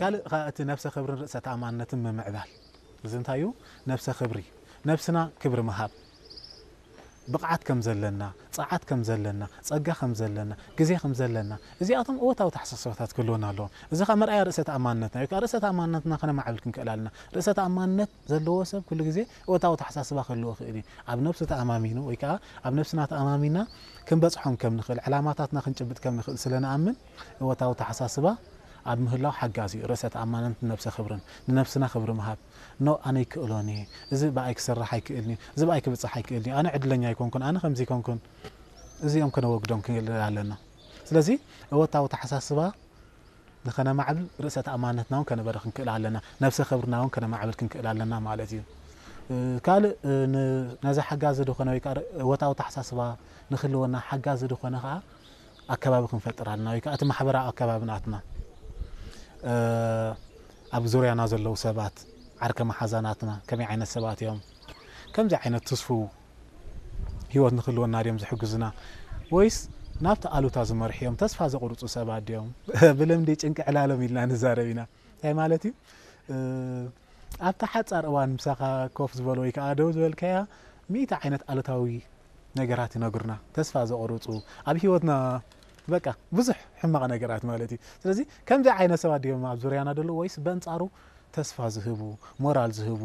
ካልእ ኸኣ እቲ ነብሰ ክብርን ርእሰ ተኣማንነትን ምምዕባል። እዚ እንታይ እዩ? ነብሰ ክብሪ፣ ነብስና ክብሪ ምሃብ፣ ብቕዓት ከም ዘለና፣ ጸዓት ከም ዘለና፣ ጸጋ ከም ዘለና፣ ግዜ ከም ዘለና፣ እዚኣቶም እወታዊ ተሓሳስባታት ክህልወና ኣለዎም። እዚ ኸኣ መርኣያ ርእሰ ተኣማንነትና እዩ። ርእሰ ተኣማንነትና ከነማዕብል ክንክእል ኣለና። ርእሰ ተኣማንነት ዘለዎ ሰብ ኩሉ ግዜ እወታዊ ተሓሳስባ ክህልዎ ይኽእል እዩ። ኣብ ነብሱ ተኣማሚኑ ወይ ከኣ ኣብ ነብስና ተኣማሚና ክንበጽሖም ከም ንኽእል፣ ዕላማታትና ክንጭብጥ ከም ንኽእል ስለ ንኣምን እወታዊ ተሓሳስባ ኣብ ምህላው ሓጋዚ እዩ። ርእሰ ተኣማንነትን ነብሰ ክብርን፣ ንነብስና ክብሪ ምሃብ። ኖ፣ ኣነ ይክእሎን እየ፣ እዚ ብኣይ ክሰርሕ ኣይክእልን እዩ፣ እዚ ብኣይ ክብጽሕ ኣይክእልን እዩ፣ ኣነ ዕድለኛ ኣይኮንኩን፣ ኣነ ከምዚ ኣይኮንኩን፣ እዚኦም ከነወግዶም ክንክእል ኣለና። ስለዚ እወታዊ ተሓሳስባ ንኸነማዕብል ርእሰ ተኣማንነትና እውን ከነበረ ክንክእል ኣለና፣ ነብሰ ክብርና እውን ከነማዕብል ክንክእል ኣለና ማለት እዩ። እ፣ ካልእ፣ እ፣ ን-፣ ነዚ ሓጋዚ ዝኾነ ወይ ከዓ እወታዊ ተሓሳስባ ንክህልወና ሓጋዚ ዝኾነ ከዓ ኣከባቢ ክንፈጥር ኣለና፣ ወይ ከዓ እቲ ማሕበራዊ ኣከባቢ ናትና፣ እ፣ ኣብ ዙርያና ዘለዉ ሰባት፣ ዓርከ መሓዛናትና ከመይ ዓይነት ሰባት እዮም? ከምዚ ዓይነት ትስፉው ህይወት ንክህልወና ድዮም ዝሕግዙና? ወይስ ናብቲ ኣሉታ ዝመርሑ እዮም? ተስፋ ዘቑርጹ ሰባት ድዮም? ብልምዲ ጭንቂ ዕላሎም ኢልና ንዛረብ ኢና። እንታይ ማለት እዩ? እ፣ ኣብታ ሓጻር እዋን ምሳኻ ኮፍ ዝበሉ ወይ ከዓ ደው ዝበልካያ ሚእቲ ዓይነት ኣሉታዊ ነገራት ይነግሩና። ተስፋ ዘቑርጹ፣ ኣብ ህይወትና በቃ ብዙሕ ሕማቕ ነገራት ማለት እዩ። ስለዚ ከምዚ ዓይነት ሰባት ድዮም ኣብ ዙርያና ዘለዉ ወይስ በንጻሩ ተስፋ ዝህቡ፣ ሞራል ዝህቡ፣